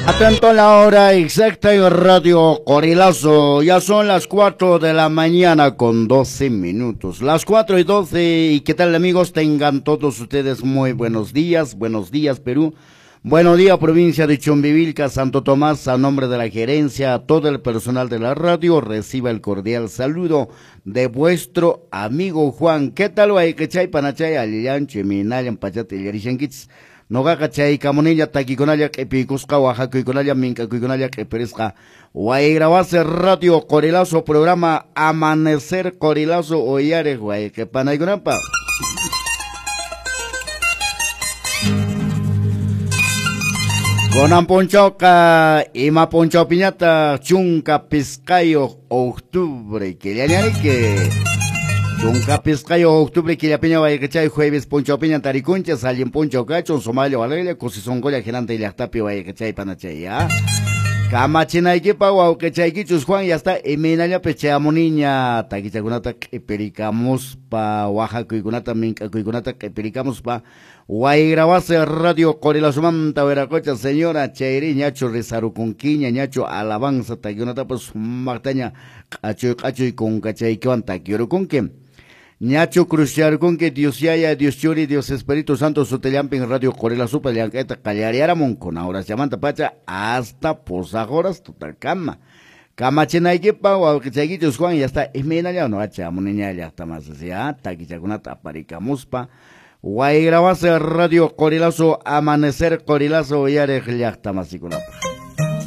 Atento a la hora exacta en Radio Qorilazo. Ya son las 4 de la mañana con 12 minutos. Las 4:12. ¿Y qué tal, amigos? Tengan todos ustedes muy buenos días. Buenos días, Perú. Buenos días, provincia de Chumbivilca, Santo Tomás. A nombre de la gerencia, a todo el personal de la radio, reciba el cordial saludo de vuestro amigo Juan. ¿Qué tal, wayqichay, panachay, allillanchu, imaynallan pachata illarishankichis? Noqaqa chaykamunilla takikunalla q'ipiykusqa, waqakuykunalla mink'akuykunalla q'ipirisqa. Wayrawasi Radio Qorilazo, programa Amanecer Qorilazo, uyariq wayqi panaykunapaq. Kunan punchawqa ima punchawpiñataq 15 octubre killañariki. 15 octubre killapiña wayqichay jueves punchawpiña tarikunchis, allin punchaw kachun, sumalla walaylla, kusisunqulla hinanta llaqtapi wayqichay panachay, ya. Kamachinaykipaq wawqichaykichus Juan, ya está, imaynallapi chayamuniña takichakunata q'ipirikamuspa, waqakuykunata mink'akuykunata q'ipirikamuspa, Wayrawasi Radio Qorilazomanta wiraqocha señora chayri ñachu rizarukunkiña, ñachu alabanza takikunatapas sumaqtaña q'achuy q'achuy kunkachaykiwan takirukunki. Ñachu cruciarkunki Dios Yaya, Dios Churi, Dios Espíritu Santo sutillampin Radio Qorilazupa llank'ayta qallariaramun kuna horasllamanta pacha hasta pusaq horas tutakama. Kamachinaykipaq wawqichaykichus Juan, ya está, imaynalla no chamuniña llaqtamas, ya takichakunata aparikamuspa. Wayrawasi Radio Qorilazo, Amanecer Qorilazo uyariq llaqtamasikunapaq.